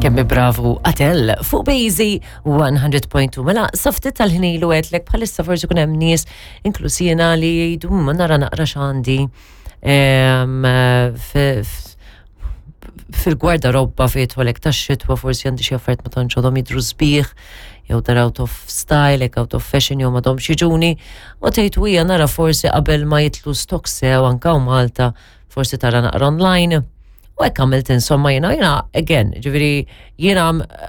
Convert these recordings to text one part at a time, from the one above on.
Kemm bravu Atel fuq Bejzi 100.2. Mela, safti tal-ħnilu għedlek bħalissa forsi kun hemm nies inkluż jiena li jgħidu hmm, ma nara naqra x'għandi fil-gwardarobba fejn jidħolek tax-xitwa forsi għandi xi affarijiet ma tantx għadhom jidhru sbieħ jew dar out of style, hekk out of fashion jew m'għadhomx jiġuni u tgħid hija nara forsi qabel ma jitlu stock sew anke Malta forsi tara naqra online. U hekk għamilt insomma jiena jiena again, ġifieri jiena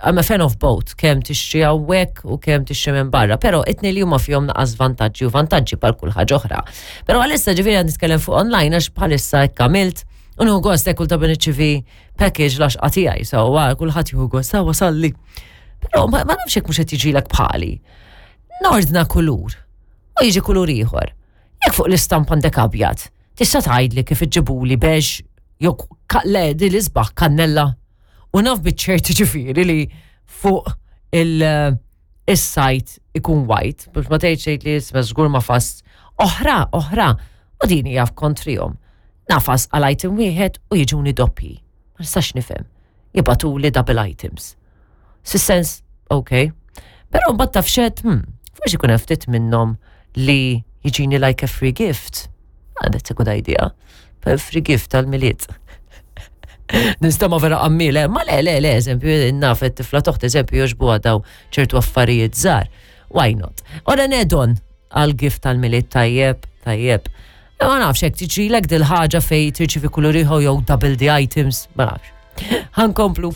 I'm a fan of both, kemm tixtri hawnhekk u kemm tixtri minn barra, però itni li huma fihom naqas vantaġġi u vantaġġi bħal kull ħaġa oħra. Però għalissa ġifieri għad nitkellem fuq online għax bħalissa hekk għamilt u nieħu gost hekk kull ta' nirċivi package l-għaxqa tiegħi, so kulħadd jieħu gost, sa wasalli. Però ma nafx hekk mhux qed jiġilek bħali. Nordna kulur u jiġi kulur ieħor. Jekk fuq l-istampa għandek abjad, tista' tgħidli kif iġġibuli beige jew le di l-isbaħ kannella. U naf biċ-ċert ġifieri li fuq il-sajt ikun white, biex ma tgħidx tgħid li isma' żgur ma fast. Oħra, oħra, u din hija kontrihom. Nafas għal item wieħed u jiġuni doppji. Ma nistax nifhem. Jibgħatuli double items. Fis-sens, ok. Però mbagħad taf xed, hmm, forsi jkun hemm ftit minnhom li jiġini like a free gift. Ah, that's a good idea. Per free gift tal-miliet. Nistama vera qammile, eh? ma le, le, le, eżempju, naf tifla toħt, eżempju, joġbu daw ċertu affarijiet żgħar. Why not? Ora nedon għal gift tal-miliet tajjeb, tajjeb. Ma nafx hekk tiġrilek dil-ħaġa fej tirċivi kulur ieħor jew double the items, ma nafx. Ħankomplu.